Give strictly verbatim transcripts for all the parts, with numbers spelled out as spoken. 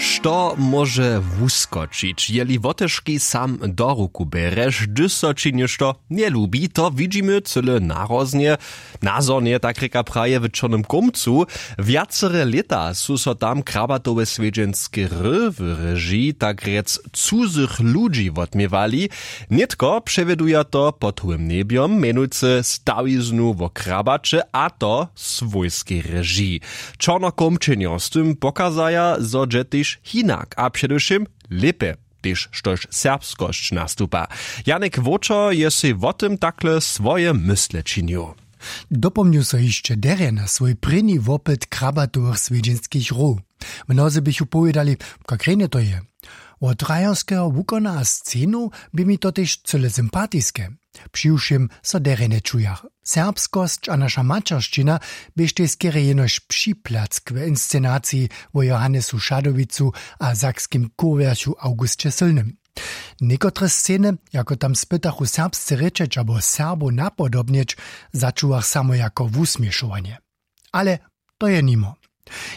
Što móže wuskočić jeli wotežki sam do ruku bjerješ hdyž so ći něšto njelubi to widźimy cyle naroznje. Nazhonje tak rěka praje w čornym kómcu. Wjacere lěta su so tam krabatowe swjedźenske hry w režiji tak rjec cuzych ludźi wotměwali. Nětko přewjeduja to pod howym njebjom mjenujcy stawiznu wo krabaće a to swójskej režiji. Čornokómčenjo z tym pokazaja zo dźe tež hinak a předewšěm lěpje, tež štož serbskosć nastupa. Janek wóčer je sej wo tym takle swoje mysle činił. Dopomnju so hišće derje na swój prěni wopyt krabatowych swjedźenskich hrow. Mnozy běchu powědali, kak rjenje to je. Wot rajerskeho wukona a scenow bě mi to tež cyle sympatiske. Přiwšěm so derje nječujach. Serbskosć a naša maćeršćina běštej skerje jenož připlack w inscenaciji wo johannesu šadowicu a sakskim kurwjerchu augusće sylnym. Někotre sceny, jako tam spytachu serbsce rěčeć abo serbow napodobnjeć, začuwach samo jako wusměšowanje. Ale to je nimo.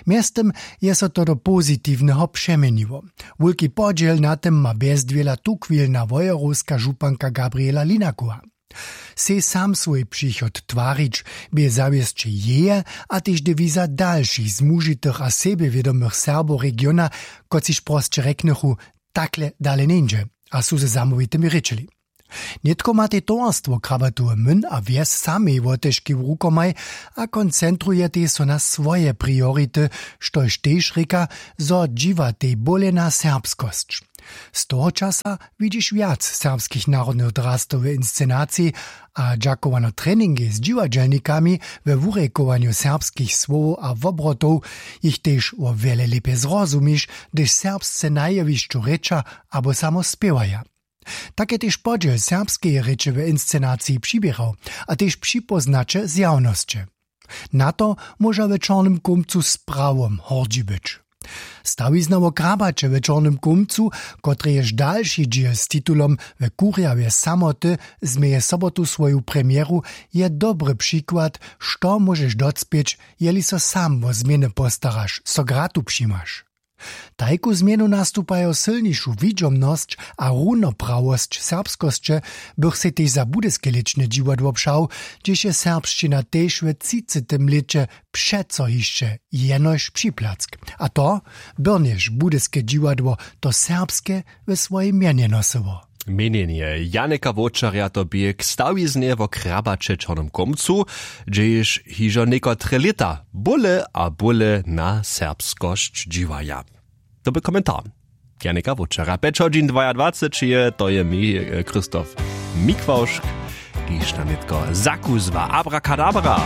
Mjeztym je so to do pozitiwneho přeměniło. Wulki podźěl na tym ma bjezdwěla tuchwilna wojerowska županka gabriela linakowa. Sej sam swój přichod twarić bě zawěsće jeje a tež dewiza dalšich zmužitych a sebjewědomych serbow regiona, kotřiž prosće rjeknychu, takle dale njeńdźe, a su ze zamołwitymi rěčeli. Nětko matej towarstwo krabatowe myn a wjes samej wotežki w rukomaj a koncentrujetej so na swoje priority, štož tež rěka, zo dźiwatej bóle na serbskosć. Z toho časa widźiš wjac serbskich narodnych drastow w inscenaciji, a dźakowano treningej z dźiwadźelnikami we wurjekowanju serbskich słowow a wobrotow jich tež wo wjele lěpje zrozumiš, hdyž serbsce na jewišću rěča abo samo spěwaja. Tak je tež podźěl serbskeje rěče w inscenaciji přiběrał a tež připóznaće zjawnosće. Na to móža w čornym kómcu z prawom hordźi być. Stawizna wo krabaće w čornym kómcu, kotrejež dalši dźěl z titulom w kurjawje samoty, změje sobotu swoju premjeru, je dobry přikład, što móžeš docpěć, jeli so sam wo změny postaraš, so gratu přimaš. Tajku změnu nastupajo sylnišu widźomnosć a runoprawosć serbskosće, bych sej tež za budyske lěčne dźiwadło přał, hdźež je serbšćina tež we třicetym lěće přeco hišće jenož připlack. A to byrnjež budyske dźiwadło to serbske we swojej mjenje nosyło. Měnjenje janeka wočerja to bě k stawiznje wo krabaće čornym kómcu, hdźež hižo někotre lěta bóle a bóle na serbskosć dźiwaja. To by komentar janeka wočerja pjeć hodźin dwajadwacećeje to je mi, christoph mikwałšk, kiž nam nětko zakuzła abrakadabra.